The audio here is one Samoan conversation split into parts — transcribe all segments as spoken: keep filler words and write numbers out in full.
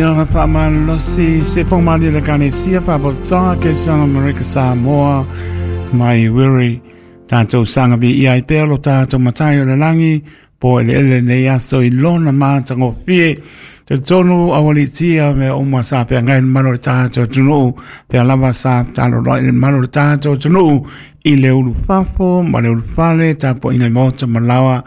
Ia faamalosi se pogamalie le Ekalesia Faapotopotoga Kerisiano Amerika Samoa mai Wiri tatou saga viia ai pea lo tatou Matai o le lagi po eleele lenei aso i lona matagofie. Talitonu aualiitia mea uma sa peagai le mamalu o le tatou atunuu pea lava sa taloloai le mamalu o le tatou atunuu i le ulufafo ma le ulufale tapuaiga i maota ma laoa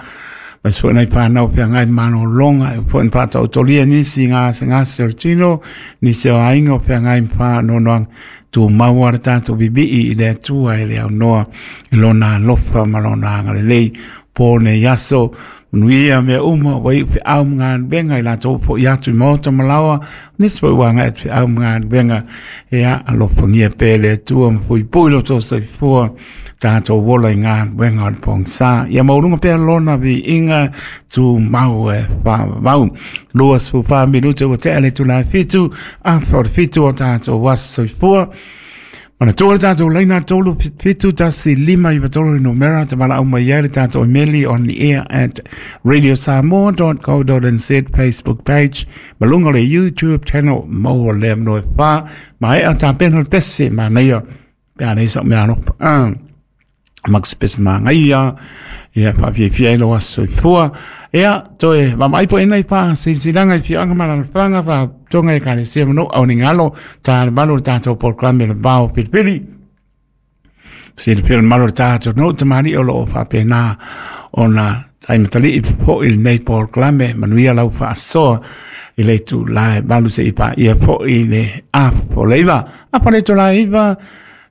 mai foi nai fanau feagai malologa e foi na faataotolia nisi i gasegase o le tino nisi o aiga o feagai ma faanoanoaga tumau le tatou vivii i le Atua e le aunoa i lona alofa ma lona agalelei po nei aso manuia mea uma ua iu feau ma galuega i latou fo'i atu i maota ma laoa nisi foi ua agai atu feau ma galuega ia alofagia pea le Atua ma puipui lo outou soifua tatou ola i galuega o le pogisa ia maualuga pea lona viiga tumau e faavavau. Lua sefulu fa minute ua tea le itula e fitu afa o le fitu o tatou aso soifua. Manatua le tatou laina tolu fitu tasi lima iva tolu le numera te valaau mai ai le tatou imeli on the air at radiosamoa dot co dot nz Facebook page ma luga o le YouTube channel maua lea manoa e fa maea tapena le pese manaia pe a leai sau mea alofa ah. Max pese magaia ia faafiafia ai lou aso soifua. Ia toe vaavaai po ina i faasilasilaga i afioaga ma alaalafaga faatoga i Ekalesia ma nuu au ni galo ta le malu o le tatou polokalame le vao pilipili. Silafia le mamalu o le tatou nuu tamalii o loo faapena ona taimatalii foi lenei polokalame manuia lau faasoa i le itula e valu seia paia foi le afa o le iva. Afa le itula e iva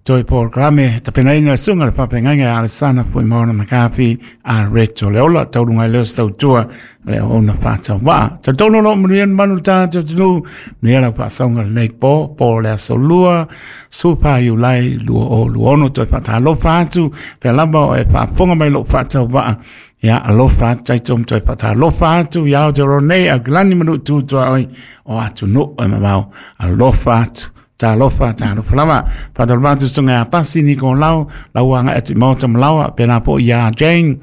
toe polokalame tapenaina le susuga le faafeagaiga ia Alesana Fuimaono McCarthy a Reto le ola tauluga i leo se tautua le auauna faatauvaa. Talitonu o lo o manuia le mamalu o le tatou atunuu, manuia lau faasauga lenei po, po o le aso lua, sefulu fa Iulai lua o lua ono toe faatalofa atu, pea lava o e faafofoga mai lou faatauvaa. Ia alofa atu tatou toe faatalofa atu ia Aotearoa nei, Aukilani ma nuu tu tuaoi o atunuu e mamao. Alofa atu. Talofa, talofa lava. Faatalofa atu susuga ia Pasi Nikolau, lau agai atu i Maota ma Laoa, pēlā foi ia Jane.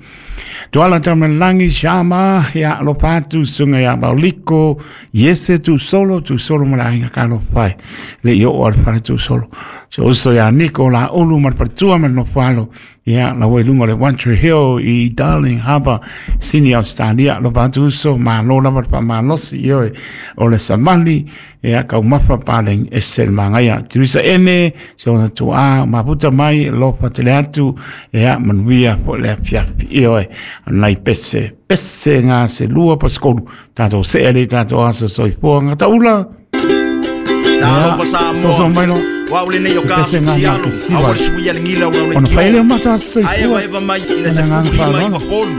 Tuala Tamalagi, Shama, ia alofa atu susuga ia Mauliko, Iese Tusolo, Tusolo ma le aiga talofa e. Le i oo a le fale Tusolo. Si ou uso ia Niko Laulu ma le faletua ma le nofo alo. Ia, lau i luga o le One Tree Hill i Darling Harbour, Sydney, Australia. Alofa atu uso, malo lava le faamalosi, ioe, o le savali, ia taumafa paleni ese le magaia. Teresa Ene, si ona tuaa, mafuta mai, alofa tele atu, ia manuia foi le afiafi, ioe, nai pese, pese ngā se lua pa se kolu, tātou see le tātou aso soifua ngā taula. Talofa Samoa. Soso mai lo. Wa ule nei o Se ka pese ngā tialo. ngā A kisiwa. ua le suia le gila o Ona le whaele o mata aso Ae soifua. va eva mai ina se Ona ngā fulu lima whālona. iva kolu.